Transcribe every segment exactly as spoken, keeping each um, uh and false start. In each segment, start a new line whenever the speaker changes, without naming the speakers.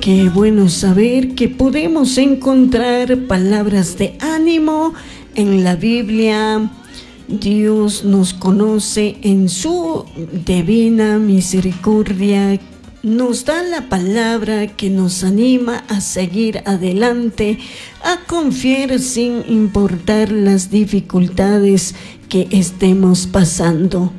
Qué bueno saber que podemos encontrar palabras de ánimo en la Biblia. Dios nos conoce en su divina misericordia. Nos da la palabra que nos anima a seguir adelante, a confiar sin importar las dificultades que estemos pasando.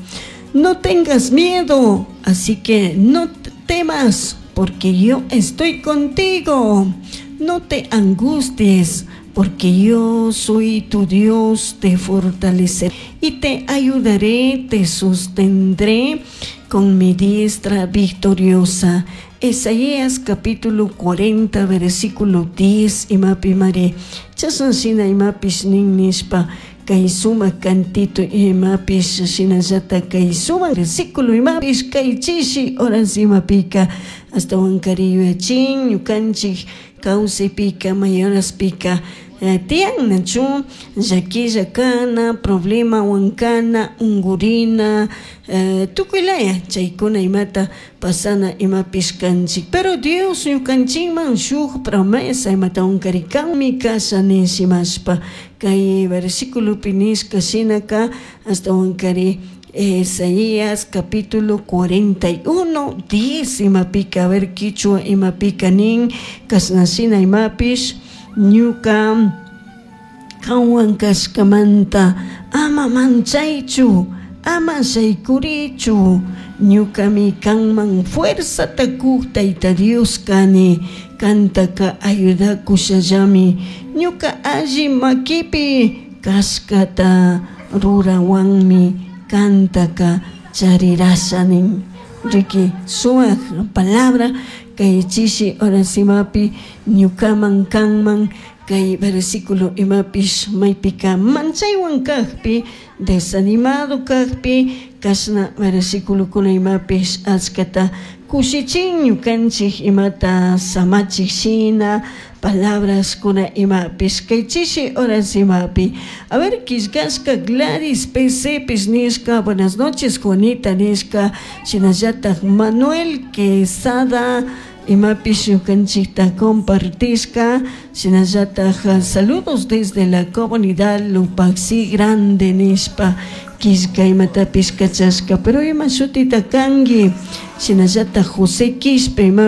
No tengas miedo, así que no temas, porque yo estoy contigo. No te angusties, porque yo soy tu Dios, te fortaleceré y te ayudaré, te sostendré con mi diestra victoriosa. Isaías capítulo cuarenta, versículo diez, imapi mari. Chashna shina imapish nin nishpa, kay sumak cantito imapish shinallata kay sumak versículo imapish kay chishi horas imapika ashtawankari yuyachin ñukanchik kawsaypika may horaspika tiyan nachu llaquilla kana, problemawan kana, unkurina, tukuylaya chaykuna imata pasana imapish kanchik. Pero Dios ñukanchikman shuk promesa imatawankari kanmi kasha nishimashpa kay versículopi nishka shinaka ashtawankari Isaías capítulo cuarenta y uno, diez imapika, a ver, quichua imapika nin kashna shina imapish: ñuka kanwan kashkamanta ama manchaychu, ama shaykurichu, ñukami kanman fuerzata kuk Tayta Dios kani, kantaka ayudakushallami, ñuka alli makipi kashkata rurawanmi kantaka charirasha nin. Riki, sumak palabra kay chishi horas imapi ñukaman kanman kay versículo imapish maypika manchaywan kakpi, desanimado kakpi, kashna versiculokuna imapish achkata kushichin ñukanchik imata samachik shina palabras kuna imapish kay chishi horas imapi. A ver, killkashka Gladys P C pish nishka: "Buenas noches, Juanita", nishka. Shinallatak Manuel Quesada imapish ñukanchikta compartishka. Shinallatak "Saludos desde la comunidad Lupaxi Grande" nishpa killka imatapish kachashka, pero ima shutita kanki? Shinallatak José Quispe ima